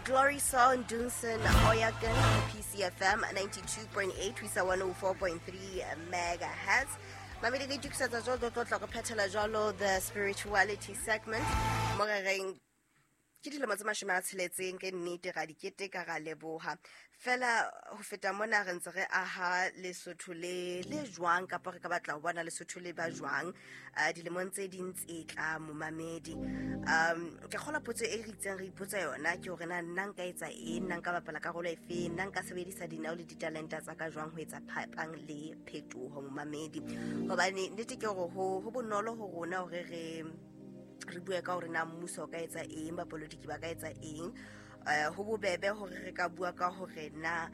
Glory Song Dunson Oyakan, PCFM 92.8 ho isa 104.3 megahertz. Mamedi, re itokisetsa jwalo, tlo tla re phethela jwalo the spirituality segment mo re reng ke dilemo tse 60 ke nnete ra di keteka, ra leboha fela. Ho feta mona, re ntse re aha Lesotho le jwang, kapa re ka batla ho bona Lesotho le ba jwang dilemong tse ding tse tla, momamedi? Ke kgola potso e re itseng re ipotsa yona ke hore na nna nka etsa eng, nna nka bapala karolo efe, nna nka sebedisa dinao le ditalenta tsa ka jwang ho etsa phapang le phetoho, momamedi? Hobane nnete ke hore ho bonolo ho rona hore re bue ka hore na mmuso o ka etsa eng, bapolitiki ba ka etsa eng. Ho bobebe hore re ka bua ka hore na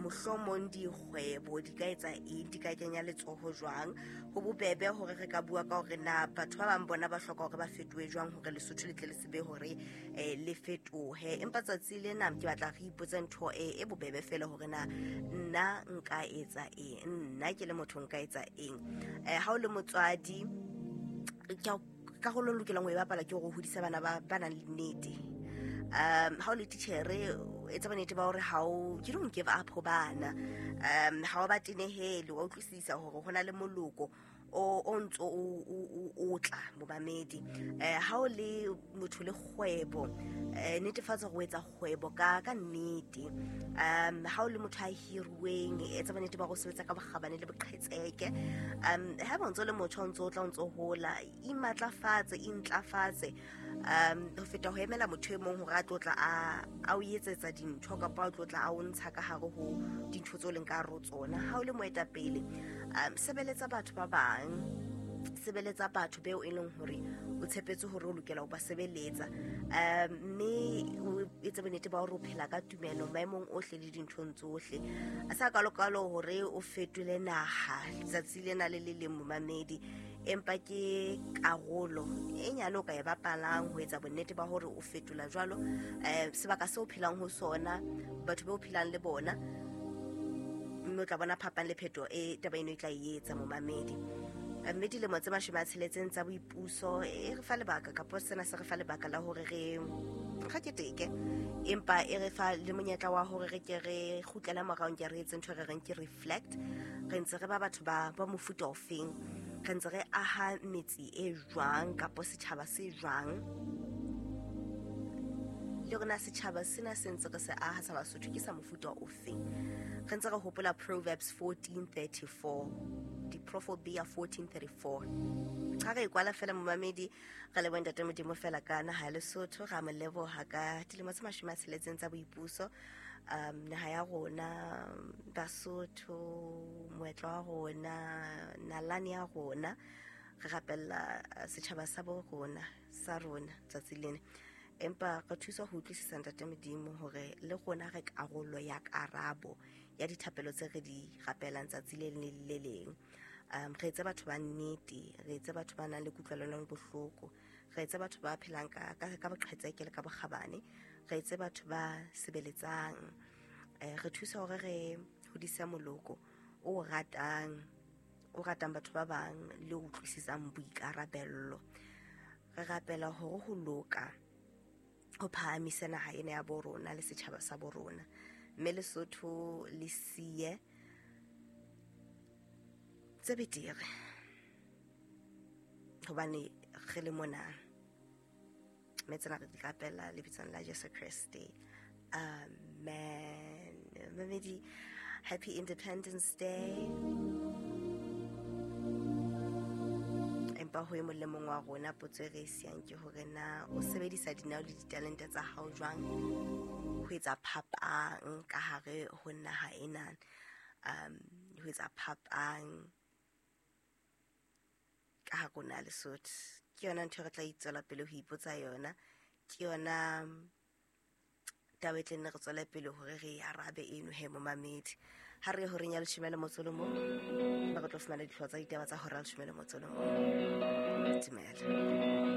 mohlomong dikgwebo di ka etsa eng, di ka kenya letsoho jwang. Ho bobebe hore re ka bua ka hore na batho ba bang bona ba hloka hore ba fetohe jwang hore Lesotho le tle le sebe hore le fetohe. Empa tsatsi lena ke batla re ipotse ntho e bobebe fela, hore na nna nka etsa eng, nna ke le motho nka etsa eng. Ha o le motswadi, karolo o lokelang ho e bapala ke hore o hodise bana ba nang le nnete. Ha o le titjhere, etsa bonnete ba hore ha o, you don't give up ho bana, ha o ba tenehele, wa utlwisisa hore ho na le moloko o ntso o tla, momamedi. Ha o le motho le kgwebo, netefatsa hore o etsa kgwebo ka nnete. Ha o le motho a hiruweng, etsa bonnete ba hore o sebetsa ka bokgabane le boqhetseke. Ha eba o ntso le motjha, o ntso o tla, o ntso hola, imatlafatse, intlafatse, ho feta ho emela motho e mong hore a tlo tla a o etsetsa dintho, kapa a tlo tla a o ntsha ka hare ho dintho tseo leng ka hare ho tsona. Ha o le moetapele, sebeletsa batho ba bang, sebeletsa batho beo e leng hore o tshepetse hore o lokela ho ba sebeletsa, mme o etse bonnete ba hore o phela ka tumelo maemong ohle le dinthong tsohle. A sa kalokalo hore o fetole naha letsatsi lena le le leng, momamedi, empa ke karolo e nyane o ka e bapalang ho etsa bonnete ba hore o fetola jwalo sebaka seo o phelang ho sona, batho be o phelang le bona, mme o tla bona phapang le pheto e taba eno e tla e etsa, momamedi. Mme dilemo tse 60 tsa boipuso e re fa lebaka, kapo sena se re fa lebaka la hore re keteke, empa e re fa le monyetla wa hore re ke re kgutlele morao, ke re etse ntho e re reng ke reflect. Re ntse re ba batho ba mofuta ofeng? Re ntse re aha metse e jwang, kapo setjhaba se jwang? Le rona setjhaba sena se ntse re se aha sa Basotho ke sa mofuta ofeng? Re ntse re hopola Proverbs 1434, Diproverbia 1434. Ha re e kwala fela, momamedi, re leboha Ntate Modimo fela ka naha ya Lesotho, ra mo leboha ka dilemo tse 60 tsa boipuso. Naha ya rona Basotho, moetlo wa rona, nalane ya rona, re rapella setjhaba sa bo rona, sa rona tsatsi lena. Empa re thusa ho utlwisisa, Ntate Modimo, hore le rona re karolo ya karabo ya dithapelo tse re di rapelang tsatsi le leng le le leng. Re etse batho ba nnete, re etse batho ba nang le kutlwelano bohloko, re etse batho ba phelang ka boqhetseke le ka bokgabane, re etse batho ba sebeletsang. Re thusa hore re hodise moloko o ratang batho ba bang le o utlwisisang boikarabello. Re rapela hore ho loka ho phahamise naha ena ya bo rona le setjhaba sa bo rona, mme Lesotho le siye tse betere hobane re le mona. Mme tsena re di rapela lebitsong la Jesu Kreste, amen. Mamedi, happy Independence Day. Empa ho e mong le mong wa rona, potso e re e siyang ke hore na o sebedisa dinao le ditalente tsa hao jwang ho etsa phapang ka hare ho naha ena, ho etsa phapang ka hare ho naha Lesotho. Ke yona ntho e re tla itswela pele ho ipotsa yona, ke yona taba e tlenne re tswele pele hore re e arabe eno. He momamedi, ha re ye horeng ya 11, mme re tlo fumana dihlooho tsa ditaba tsa hora ya 11. Dumela.